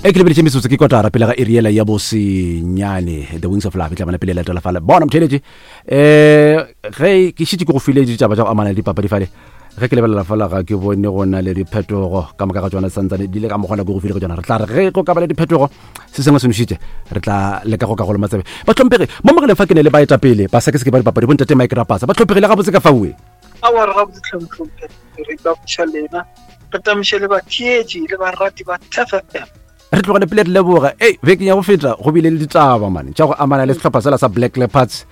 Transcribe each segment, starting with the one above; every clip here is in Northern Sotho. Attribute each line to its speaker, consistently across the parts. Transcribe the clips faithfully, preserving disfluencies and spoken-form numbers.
Speaker 1: E ke lebeletše metsotso ke kotara pele ga iriela ya bosenyane. The Wings of Love e tla bona pele latela fale. Bona motheletše, um ge ke šitše ke go file ditaba tša go amana le dipapadi fale, ge ke lebelela fela ga ke bone go na le diphetogo ka moka ga tsona, santsane di le ka mokgona ke go file go tsona. Re tla re ge go ka ba le diphetogo, se sengwe se nošitše, re tla leka go ka go loma tsebe. Bahlomphegi, mo mogeleng fa ke ne le baetapele ba sekeseke ba dipapadi, bontate Mike Rapasa. Bahlomphegi, le gabotse ka faue?
Speaker 2: Aowa, re gabotse tlhomphlomphe. Re tamiša lena, re tamiše le batheetši le barati ba T F M.
Speaker 1: Re tlogele pele re leboga. Ei, bekeng ya go feta go bile le ditaba mane tša go amana le sehlopha sela sa Black Leopards.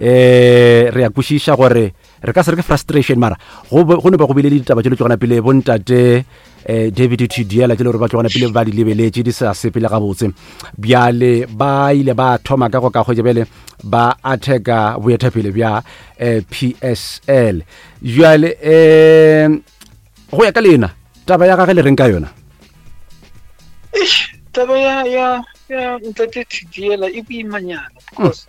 Speaker 1: um re ya kwešiša gore re ka se re ke frustration, mara go be- go ne ba go bile le ditaba tše le tlogana pele bontate um David Thidiela, tše le gore ba tlogana pele ba di lebeletše di sa sepele gabotse. Bjale ba ile ba thoma ka go ka kgwetša, bjale ba attacka boetapele bja um P S L. Bjale um go ya ka lena, taba ya gage le reng ka yona?
Speaker 2: Eish, taba ya ya ya ntate Thidiela e boimanyana, because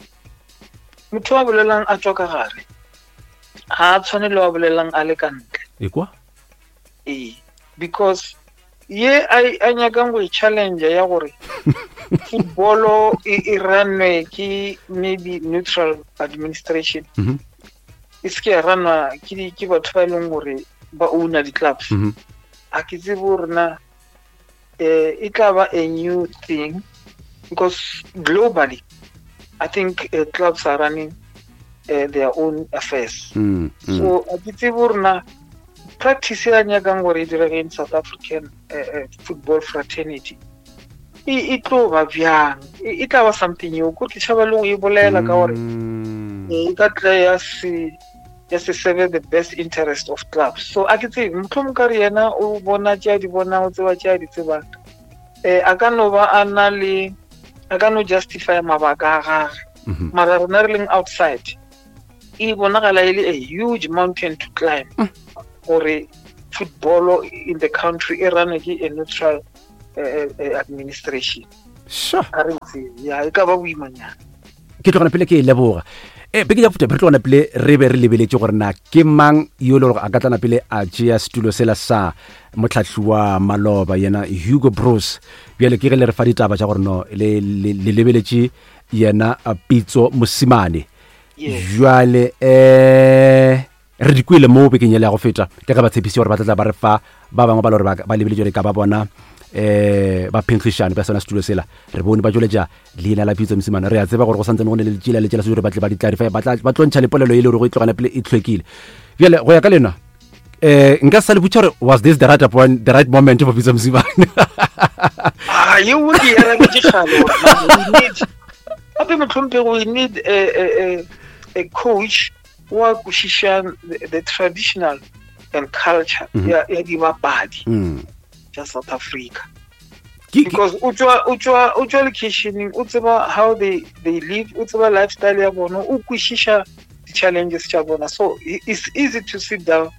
Speaker 2: motho wa bolelang a tswa ka gare ga a tshwane le wa bolelang a le ka ntle.
Speaker 1: E kwa.
Speaker 2: Ee, because ye a a nyakang go e challenge ya gore footballo e e runwe ke maybe neutral administration,
Speaker 1: Mhm.
Speaker 2: e se ke ya runwa ke di- ke batho ba e leng gore ba owna di-clubs,
Speaker 1: Mhm.
Speaker 2: a ke tsebe gore na eh, e tla ba a new thing, because globally I think uh, clubs are running uh, their own affairs.
Speaker 1: Mm, mm.
Speaker 2: So a ke tsebe gore na practice ya nyakang gore e direge in South African uh, uh, football fraternity e e tlo ba bjang. E e tla ba something eo ko ke tšhaba le go e bolela ka gore
Speaker 1: Mm.
Speaker 2: eh, e ka tla ya se ya se serve the best interest of clubs. So a ke tsebe, mohlomong ka re yena o bona tše a di bonang, o tseba tše a di tsebang, um a ka no ba a na le, a ka no justify mabaka a gage,
Speaker 1: Mhm.
Speaker 2: mara rena re leng outside e bonagala e le a huge mountain to climb gore football in the country e runwe ke a neutral uh, uh, administration.
Speaker 1: Sure.
Speaker 2: A re tsebe, ya e ka ba boimanyana.
Speaker 1: Ke tlogana pele ke e leboga. E beke ya feta re tlogana pele re be re lebeletše gore na ke mang yo e le gore a ka tlana pele a tšea setulo sela sa motlhahli wa maloba, yena Hugo Broos. Bjale ke ge le re fa ditaba tša gore no le le- le lebeletše yena a Pitso Mosimane.
Speaker 2: Yes.
Speaker 1: Jwale um re di kwele mo bekeng yele ya go feta ke ge ba tshepise gore ba tla tla ba re fa ba bangwe ba le gore ba ba lebeletše gore ka ba bona um ba phenkgišane ba sona setulo sela. Re bone ba tšweletša leina la Pitso Mosimane. Re a tseba gore go santsane go ne le tšela le tšela se gore ba tle ba di clarify, ba tla ba tlo ntšha le polelo e le gore go e tlogana pele e tlhwekile. Bjale go ya ka lena, um nka sa le botša gore was this the right appoint, the right moment for Pitso Mosimane?
Speaker 2: Ah, yeo ke e arabetše kgale gore man, we need, gape mohlomphegi, we need a, a, a, a coach wa kwešišang the, the traditional and culture
Speaker 1: Mhm.
Speaker 2: ya, ya dibapadi
Speaker 1: Mm.
Speaker 2: tša South Africa,
Speaker 1: Ke- ke-
Speaker 2: because o tswa o tswa o tswa locationeng, o tseba how they they live, o tseba lifestyle ya bona, o kwešiša di-challenges tša bona. So i- it's easy to sit down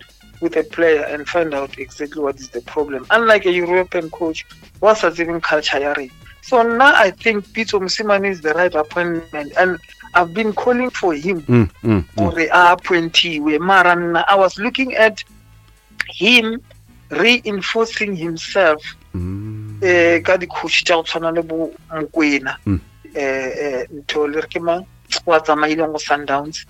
Speaker 2: with a player and find out exactly what is the problem, unlike a European coach wa sa tsebeng culture ya rena. So nna I think Pitso Mosimane is the right appointment, and I've been calling for him
Speaker 1: Mm, mm, mm.
Speaker 2: gore a appointiwe, mara nna I was looking at him reinforcing himself
Speaker 1: Mm.
Speaker 2: eh ka di-coach tša go tshwana le bo Mokwena,
Speaker 1: Mm.
Speaker 2: eh eh ntho le re ke mang wa tsamaileng go Sundowns,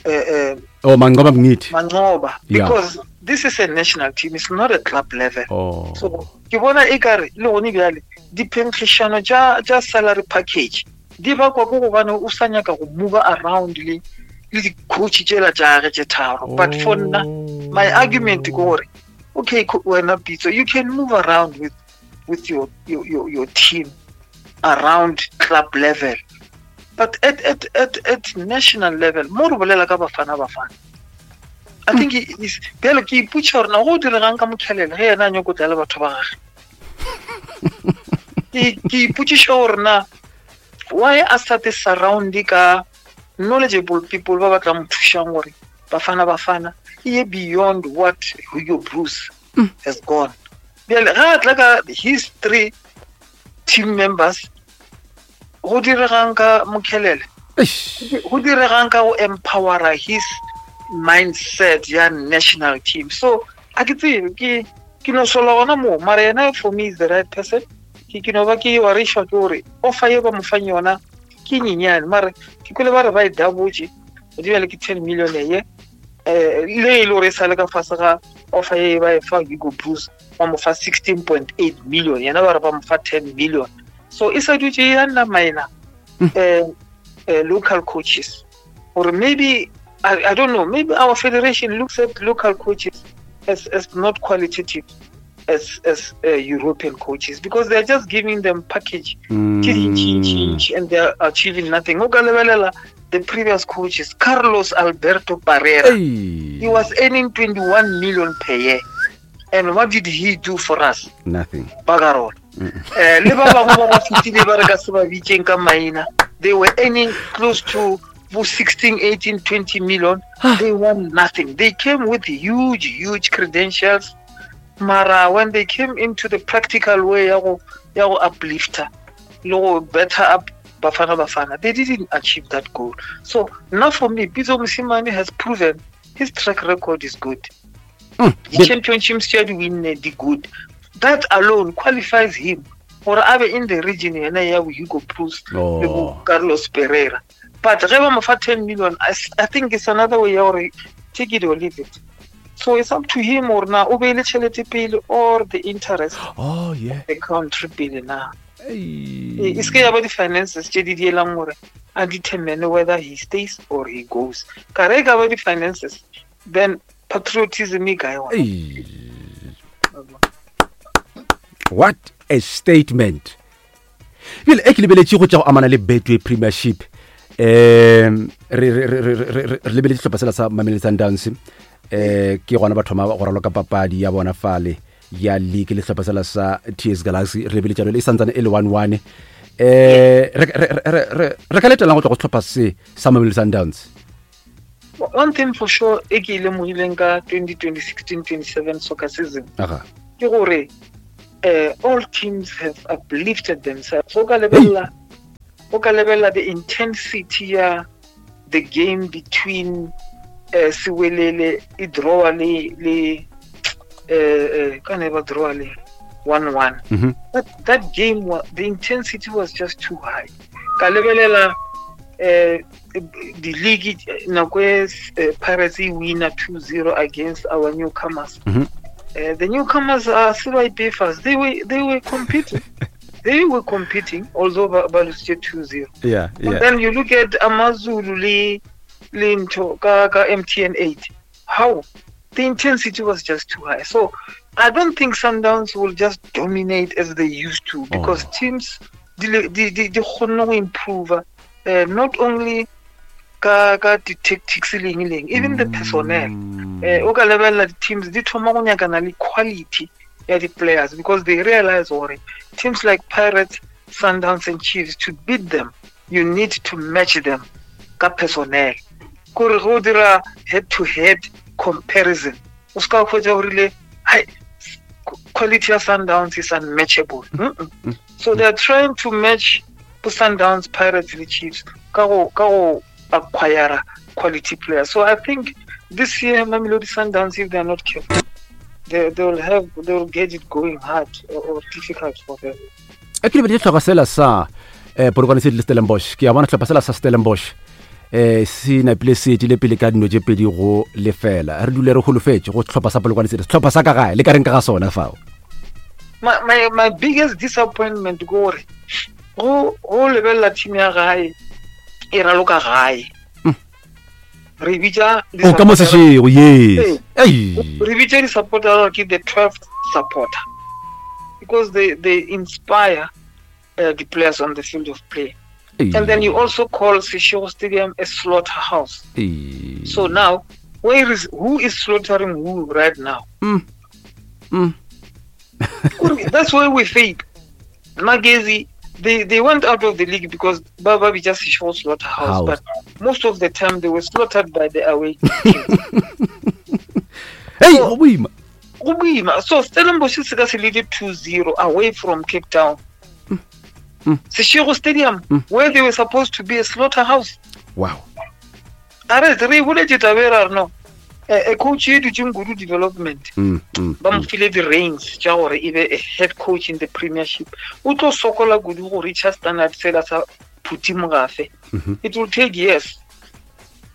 Speaker 2: eh eh
Speaker 1: Oh, Manqoba Mngqithi.
Speaker 2: Manqoba,
Speaker 1: Yeah.
Speaker 2: because this is a national team, it's not a club level.
Speaker 1: Oh.
Speaker 2: So ke bona e kare le gone bjale diphenkgišano tša tša salary package di bakwa ke gobane o sa nyaka go move around le le di-coach tšela tša gage tše tharo. But for nna, my argument ke gore okay, co- wena Pitso, you can move around with with your your your, your team around club level, but at at at at national level mo re bolela ka Bafana Bafana, I think it is bjale ke ipotša gore na go diregang ka Mokhelele ge yena a nyako tla le batho ba gage. ke ke ipotšiša gore na why a sa te surround ka knowledgeable people ba ba tla mo thušang gore Bafana Bafana e ye beyond what Hugo Broos has gone. Bjale ga a tla ka his three team members, go diregang ka Mokhelele?
Speaker 1: Eish.
Speaker 2: Go diregang ka go empowera his mindset ya national team? So a ke tsebe, ke ke no sola gona moo, mara yena for me is the right person. Ke ke no ba ke warišwa ke gore offer ye ba mo fang yona ke nyenyane, mare ke kwele ba re ba e dabotse godimo le ke ten million ye eh le e le gore e sa le ka fase ga offer ye ba e fa Hugo Broos, ba mo fa sixteen point eight million, yena ba re ba mo fa ten million. So e sa dutse ya nna maina eh, eh local coaches, or maybe I, I don't know, maybe our federation looks at local coaches as, as not qualitative as, as uh, European coaches, because they're just giving them package
Speaker 1: mm.
Speaker 2: and they're achieving nothing. O ka lebelela the previous coaches, Carlos Alberto Parreira,
Speaker 1: hey.
Speaker 2: He was earning twenty-one million per year. And what did he do for us?
Speaker 1: Nothing.
Speaker 2: Bagarol. Eh, le ba bangwe ba ba fetile ba re ka se ba bitseng ka maina, they were earning close to sixteen, eighteen, twenty million. They won nothing. They came with huge, huge credentials. Mara, when they came into the practical way ya go ya go uplifter, le go better up Bafana Bafana, they didn't achieve that goal. So now for me, Pitso Mosimane has proven his track record is good.
Speaker 1: Mm.
Speaker 2: The championships he win the good. That alone qualifies him for abe in the region yena ya Hugo Broos,
Speaker 1: oh.
Speaker 2: Carlos Pereira. But ge ba mo fa ten million, I, I think it's another way ya gore take it or leave it. So it's up to him or na o beile tšhelete pele or the interest
Speaker 1: oh yeah
Speaker 2: the country pele na.
Speaker 1: Hey.
Speaker 2: E se ke ya ba di-finances tše di dielang gore a determine whether he stays or he goes. Ka re ka ba di-finances, then patriotism e kae gona?
Speaker 1: What a statement. Bjale e ke lebeletše go tša go amana le Betway Premiership. Um re re re re re lebeletše sehlopha sela sa Mamelodi Sundowns, eh ke gona ba thoma go raloka papadi ya bona fale ya league le sehlopha sela sa T S Galaxy. Re lebeletše le e santsane e le one one. Eh re re re re ka letelang go tloga go sehlopha se sa Mamelodi Sundowns.
Speaker 2: One thing for sure e ke ile lemogileng ka twenty sixteen twenty seven soccer season ke gore uh, all teams have uplifted themselves. O ka lebelela o ka lebelela the intensity ya the game between uh, Siwelele e draw le le uh, ka ne ba draw le one one.
Speaker 1: Mm-hmm.
Speaker 2: That, that game, the intensity was just too high. Ka lebelela uh, the league nako e Pirates e winner two zero against our newcomers.
Speaker 1: Mm-hmm.
Speaker 2: Uh, the newcomers are C Y P Fers. They were they were competing. They were competing, although ba lost two zero.
Speaker 1: Yeah, yeah.
Speaker 2: But then you look at Amazulu le le ntho ka ka M T N eight. How the intensity was just too high. So I don't think Sundowns will just dominate as they used to, because
Speaker 1: oh.
Speaker 2: teams they they they kgone go improve uh, not only ka ka di tactics leng leng, even the personnel. Eh o ka lebelela di teams di thoma go nyakana le quality ya di players, because they realize gore teams like Pirates, Sundowns and Chiefs, to beat them you need to match them ka personnel. Kore go dira head to head comparison, o ska khotsa gore le hai quality ya Sundowns is unmatchable. Mm-mm.
Speaker 1: Mm.
Speaker 2: So they are trying to match Sundowns, Pirates le Chiefs ka go ka go acquire quality players. So I think this year Mamelodi Sundowns, if they are not careful, they, they will have they will get it going hard or, or difficult for them.
Speaker 1: E ke lebeletse tlhoka sela sa eh Polokwane City le Stellenbosch. Ke a bona tlhopa sela sa Stellenbosch eh se napile se etile pele ka dino tše pedi go lefela. Re dule re holofetše go tlhopa sa Polokwane City. Tlhopa sa ka gae le ka reng ka ga sona fao.
Speaker 2: My my my biggest disappointment ke gore go go lebella team ya gae e raloka gae. Re bitsa
Speaker 1: o ka mo sešego, yes. Ei.
Speaker 2: Re bitsa di supporter ke the twelfth supporter, because they they inspire uh, the players on the field of play.
Speaker 1: Ei.
Speaker 2: And then you also call Seshego Stadium a slaughterhouse.
Speaker 1: Ei.
Speaker 2: So now, where is who is slaughtering who right now?
Speaker 1: Mm. Mm.
Speaker 2: That's where we fail. Magezi, they, they went out of the league because Baba just Seshego slaughterhouse,
Speaker 1: House.
Speaker 2: But most of the time they were slaughtered by the away team.
Speaker 1: Hey,
Speaker 2: So-
Speaker 1: go boima.
Speaker 2: Go boima. So Stellenbosch se ka se lead two zero away from Cape Town.
Speaker 1: Mm.
Speaker 2: Seshego Stadium,
Speaker 1: Mm.
Speaker 2: where they were supposed to be a slaughterhouse.
Speaker 1: Wow.
Speaker 2: A re re boletse taba e ra re no. A coach e dutseng kudu development
Speaker 1: Mm, mm,
Speaker 2: ba mo file di-reins tša gore e be a head coach in the premiership o tlo sokola kudu go reacha standard sela sa Phuti Mogafe
Speaker 1: mhm.
Speaker 2: it will take years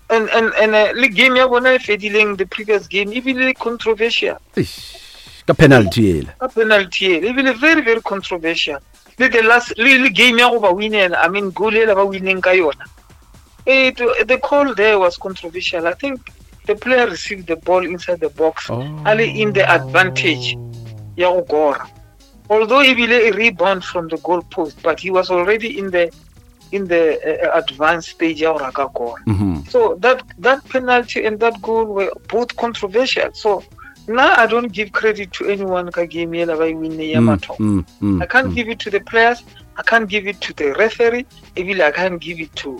Speaker 2: and and and uh, le game ya bona e fedileng the previous game e bile controversial
Speaker 1: Eish, ka penalty ela
Speaker 2: ka penalty ele e bile very very controversial le the last le, le game ya go ba winela i mean goal ela ba wineng ka yona it, the call there was controversial i think the player received the ball inside the box
Speaker 1: Oh.
Speaker 2: a le in the advantage ya go kora although ebile a rebound from the goal post but he was already in the in the uh, advanced stage ya gore a ka kora
Speaker 1: Mhm.
Speaker 2: so that that penalty and that goal were both controversial so now i don't give credit to anyone ka game yela ba e winne ya
Speaker 1: Mm,
Speaker 2: mathomo
Speaker 1: mm, mm,
Speaker 2: i can't
Speaker 1: mm.
Speaker 2: give it to the players i can't give it to the referee ebile i can't give it to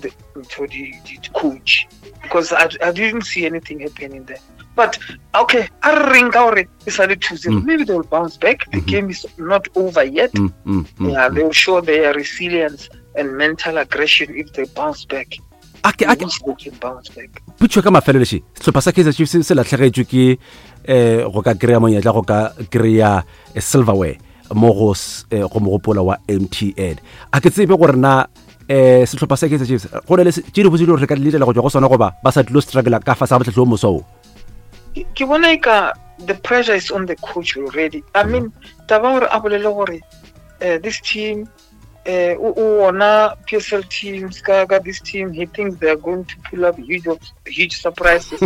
Speaker 2: the to the, the coach because I, I didn't see anything happening there but okay a re reng ka gore e sa le two zero
Speaker 1: Mm.
Speaker 2: maybe they will bounce back the
Speaker 1: Mhm.
Speaker 2: game is not over yet
Speaker 1: Mm, mm, mm,
Speaker 2: yeah
Speaker 1: mm.
Speaker 2: they will show their resilience and mental aggression if they bounce back
Speaker 1: A ke- a
Speaker 2: I
Speaker 1: ke-
Speaker 2: wish they can bounce back
Speaker 1: potšo ka mafelelo še sehlopha sa kaizer chiefs se latlhegetšwe ke um go ka kry-a monyetla go ka kry-a eh, silverware mo go s- eh, go mogopola wa mtn a ke tsebe gore na um sehlopha sa kaizer chiefs go na le se- tše dibotse di gore re ka di letela go tšwa go sona goba ba sa tlilo struggle ka fase ga motlhatlhi o moso o
Speaker 2: ke ke bona e ka the pressure is on the coach already i mean taba gore a bolele gore uh, this team uh, o o wona PSL teams ka ka this team he thinks they are going to pull up huge of, huge surprises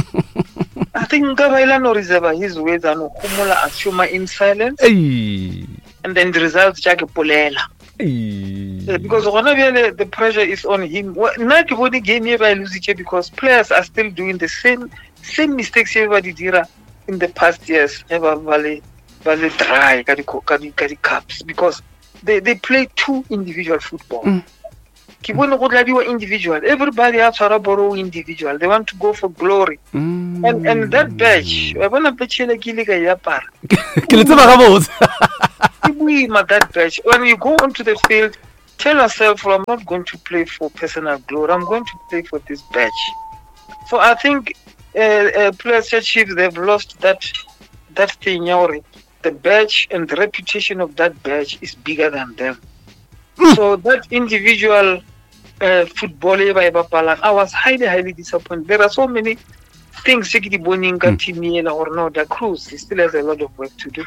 Speaker 2: i think nka ba ile no reserve his words a no homola a šoma in silence
Speaker 1: Ei,
Speaker 2: and then the results tša ke polela
Speaker 1: ei.
Speaker 2: Eh, because gona bjale the pressure is on him Wa- nna ke bone game e ba e lositše because players are still doing the same same mistakes e ba di dira in the past years ge ba ba le ba le dry ka di ka di ka di cups because they they play two individual football
Speaker 1: Mm.
Speaker 2: ke bone go dladiwa individual everybody a tshwara bolo individual they want to go for glory
Speaker 1: Mm.
Speaker 2: and and that batch wa bona batch ele ke ile ka e apara
Speaker 1: ke le tseba gabotse
Speaker 2: ke boima that batch when you go onto the field tell yourself well, i'm not going to play for personal glory i'm going to play for this batch so i think uh, uh, players chiefs they've lost that that thing ya gore the badge and the reputation of that badge is bigger than them so that individual uh, football e ba e bapalang i was highly highly disappointed there are so many things tse ke di boneng ka
Speaker 1: Mm.
Speaker 2: team ela gore no da cruz he still has a lot of work to do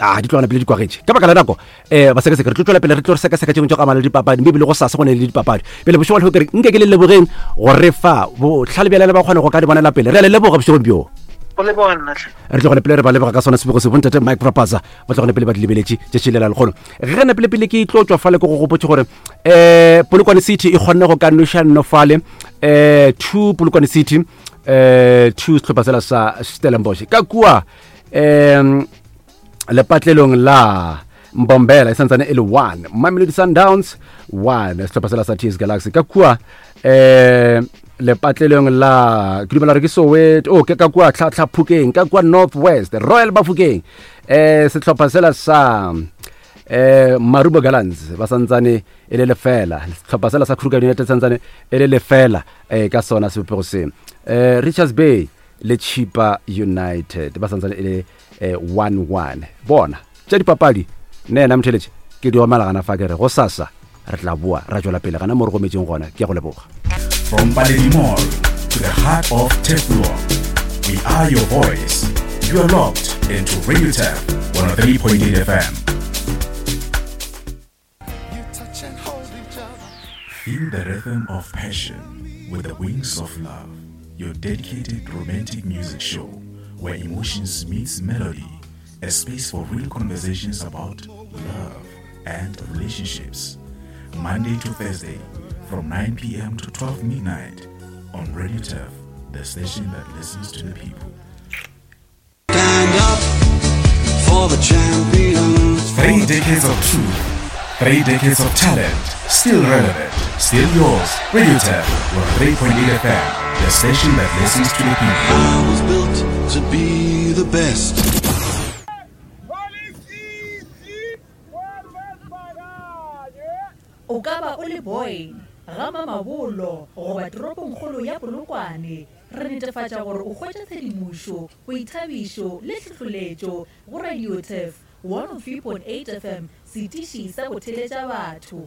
Speaker 1: a di tlogana pele di kwagetše ka baka la nako um basekaseke re tlo tswela pele re tlo re sekaseka tšengwe tša go amana le dipapadi mme ebile go sasa go ne le dipapadi pele bošego le kere nke ke le lebogeng gore fa botlhale bjalele ba kgone go ka di bonela pele re a le leboga bošegong bjo
Speaker 2: go leboga nna tlhe.
Speaker 1: re tlogone pele re ba leboga ka sona sebego se bontate mike rapaza ba tlogone pele ba di lebeletše tšatši lela lekgono ge na pele-pele ke tlo tswa fale ke go gopotse gore um polokwane city e kgonne go ka noša nno fale um two polokwane city um two sehlopha sela sa stellenbosch ka kua um lepatlelong la mbombela e santsane e le one mamelodi sundowns one sehlopha sela sa ts galaxy ka kua um lepatlelong la ke dumela gore ke soweto oh, ke ka kua tlhatlhaphukeng ka kua north west royal bafokeng um sehlopha sela sa um marubo gallants ba santsane e le lefela sehlopha sela sa kruger united santsane e le lefela um ka sona sebopego se um richards bay le chipa united ba santsane e le eh, one one bona tša dipapadi nne yena motheletše ke di omela gana fa ke re go sasa re tla boa ra tšwela pele gana mo re gometseng gona ke ya go leboga
Speaker 3: From Paledi Mall to the heart of Teflon, we are your voice. You are locked into Radio Tef one oh three point eight F M. Feel the rhythm of passion with the wings of love. Your dedicated romantic music show where emotions meets melody, a space for real conversations about love and relationships. Monday to Thursday from nine p m to twelve midnight on Radio Turf, the station that listens to the people.
Speaker 4: Stand up for the champions.
Speaker 3: Three decades of truth, three decades of talent, still relevant, still yours. Radio Turf, one oh three point eight F M, the station that listens to the people.
Speaker 4: I was built to be the best.
Speaker 5: O ka ba o le Boyne, ga Mamabolo goba toropongkgolo ya Polokwane. Re netefatša gore o hwetša tshedimošo, boithabišo le tlhohloletšo go Radio Turf one oh three point eight F M, setiši sa go theletša batho.